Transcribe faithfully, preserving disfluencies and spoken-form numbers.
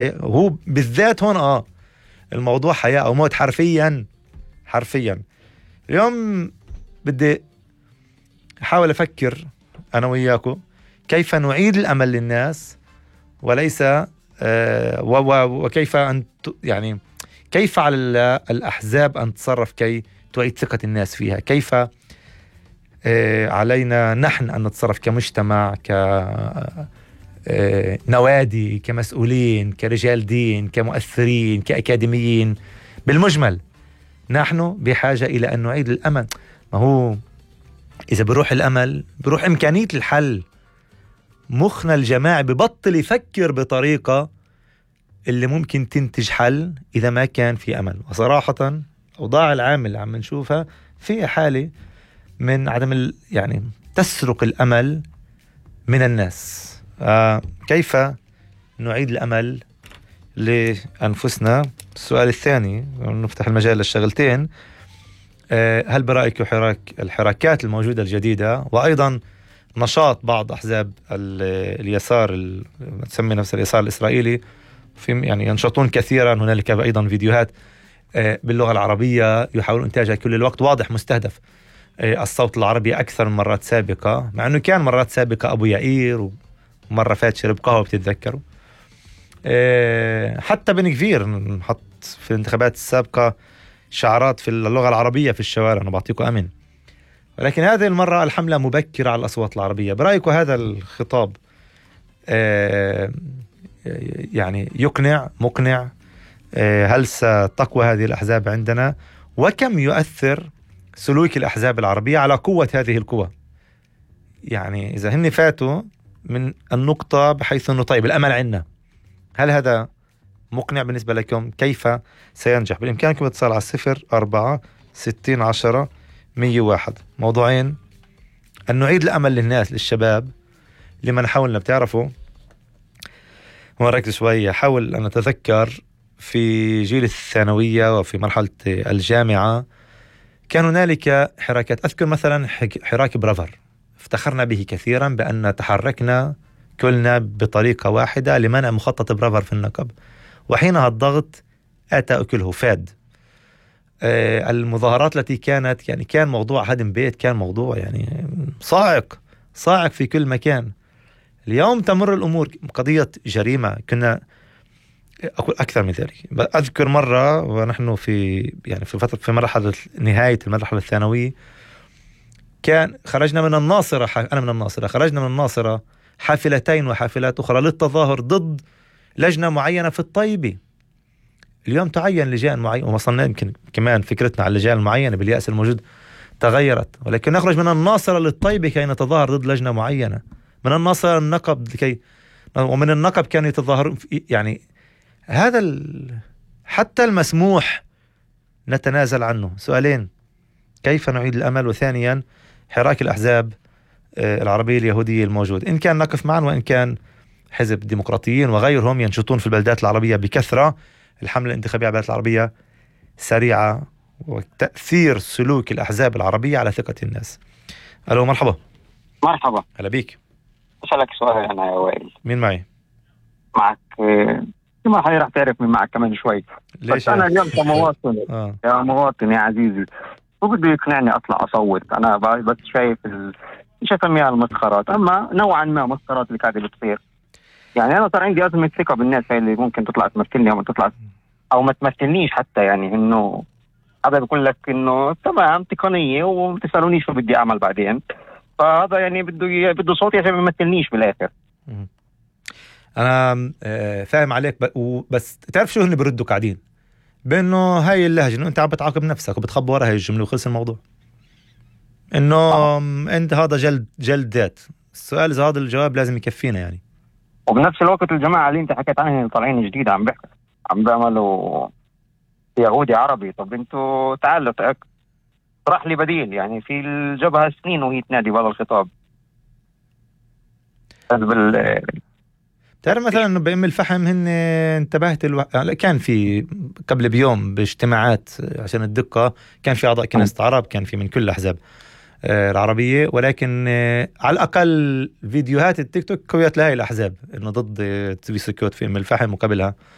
هو بالذات هون اه الموضوع حياة أو موت حرفيا حرفيا. اليوم بدي أحاول أفكر أنا وياكو كيف نعيد الأمل للناس، وليس آه وكيف أن يعني كيف على الأحزاب أن تتصرف كي تعيد ثقة الناس فيها، كيف آه علينا نحن أن نتصرف كمجتمع، كنوادي، كمسؤولين، كرجال دين، كمؤثرين، كأكاديميين. بالمجمل نحن بحاجة إلى أن نعيد الأمل. ما هو إذا بروح الأمل بروح إمكانية الحل. مخنا الجماعي ببطل يفكر بطريقة اللي ممكن تنتج حل إذا ما كان في أمل. وصراحة أوضاع العام اللي عم نشوفها في حالة من عدم ال... يعني تسرق الأمل من الناس. آه كيف نعيد الأمل لأنفسنا؟ السؤال الثاني نفتح المجال للشغلتين. آه هل برأيك حراك الحراكات الموجودة الجديدة وأيضا نشاط بعض أحزاب اليسار تسمي نفس اليسار الإسرائيلي في يعني ينشطون كثيرا، هنالك أيضا فيديوهات آه باللغة العربية يحاولون إنتاجها كل الوقت، واضح مستهدف آه الصوت العربي أكثر من مرات سابقة، مع أنه كان مرات سابقة أبو يائير ومرة فات شرب قهوة بتتذكروا. آه حتى بن كفير نحط في الانتخابات السابقة شعارات في اللغة العربية في الشوارع، أنا بعطيكم أمن. ولكن هذه المرة الحملة مبكرة على الأصوات العربية. برأيكم هذا الخطاب آه يعني يقنع مقنع؟ آه هل ستقوى هذه الأحزاب عندنا؟ وكم يؤثر سلوك الأحزاب العربية على قوة هذه القوى؟ يعني إذا هن فاتوا من النقطة بحيث أنه طيب الأمل عنا، هل هذا مقنع بالنسبة لكم؟ كيف سينجح؟ بالإمكانكم اتصال على الصفر أربعة ستين عشرة مية واحد. موضوعين: أن نعيد الأمل للناس للشباب لمن حاولنا. بتعرفوا مركز شوية حاول أن أتذكر في جيل الثانوية وفي مرحلة الجامعة كان هنالك حراكات. أذكر مثلا حراك برافر، افتخرنا به كثيرا بأن تحركنا كلنا بطريقة واحدة لمنع مخطط برافر في النقب، وحينها الضغط أتى أكله فاد. آه المظاهرات التي كانت يعني كان موضوع هدم بيت، كان موضوع يعني صاعق صاعق في كل مكان. اليوم تمر الأمور قضية جريمة. كنا أقول أكثر من ذلك. أذكر مرة ونحن في يعني في فترة في مرحلة نهاية المرحلة الثانوية كان خرجنا من الناصرة، أنا من الناصرة، خرجنا من الناصرة حافلتين وحافلات أخرى للتظاهر ضد لجنة معينة في الطيبة. اليوم تعين لجان معينة ووصلنا يمكن كمان فكرتنا على اللجان المعينة باليأس الموجود تغيرت، ولكن نخرج من الناصرة للطيبة كي نتظاهر ضد لجنة معينة، من الناصرة النقب لكي ومن النقب كانوا يتظاهرون. يعني هذا ال... حتى المسموح نتنازل عنه. سؤالين: كيف نعيد الأمل؟ وثانيا حراك الأحزاب العربية اليهودية الموجود، إن كان نقف معا وإن كان حزب الديمقراطيين وغيرهم ينشطون في البلدات العربية بكثرة. الحملة الانتخابية على البلدات العربية سريعة، وتأثير سلوك الأحزاب العربية على ثقة الناس. ألو مرحبا. مرحبا. هلا بيك. أسألك سؤال أنا يا وائل. مين معي؟ معك ما حي راح تعرف من معك كمان شوي. ليش؟ أنا اليوم كمواطن آه. يا مواطن يا عزيزي هو بده يقنعني أطلع أصوت. أنا بس شايف ال... مش أسميها المسخرات، أما نوعا ما مسخرات اللي قاعدة بتصير. يعني أنا صار عندي أزمة ثقة بالناس هاي اللي ممكن تطلع تمثلني أو ما تطلع أو ما تمثلنيش حتى. يعني إنه هذا بيقول لك إنه تمام تقنية وما تسألونيش شو بدي أعمل بعدين، فهذا يعني بده بده صوتي عشان ما يمثلنيش بالآخر. أنا فاهم عليك، بس تعرف شو هن بردوا قاعدين بأنه هاي اللهجة إنه أنت عم بتعاقب نفسك وبتخبى ورا هاي الجملة وخلص الموضوع. إنه آه. أنت هذا جلد جلد ذات. السؤال إذا هذا الجواب لازم يكفينا يعني. وبنفس الوقت الجماعة اللي أنت حكيت عنهم طالعين جديد عم بحكي عم بيعملوا يهودي عربي. طب أنتوا تعالوا طرح لي بديل. يعني في الجبهة سنين وهي تنادي بهذا الخطاب. بال تعرف مثلا انه بأم الفحم هن انتبهت الو... كان في قبل بيوم باجتماعات عشان الدقة كان في اعضاء كنيسة عرب، كان في من كل الاحزاب. آه العربية، ولكن آه على الأقل فيديوهات التيك توك قويت لهاي الأحزاب إنه ضد آه تبي سكوت في أم الفحم وقبلها.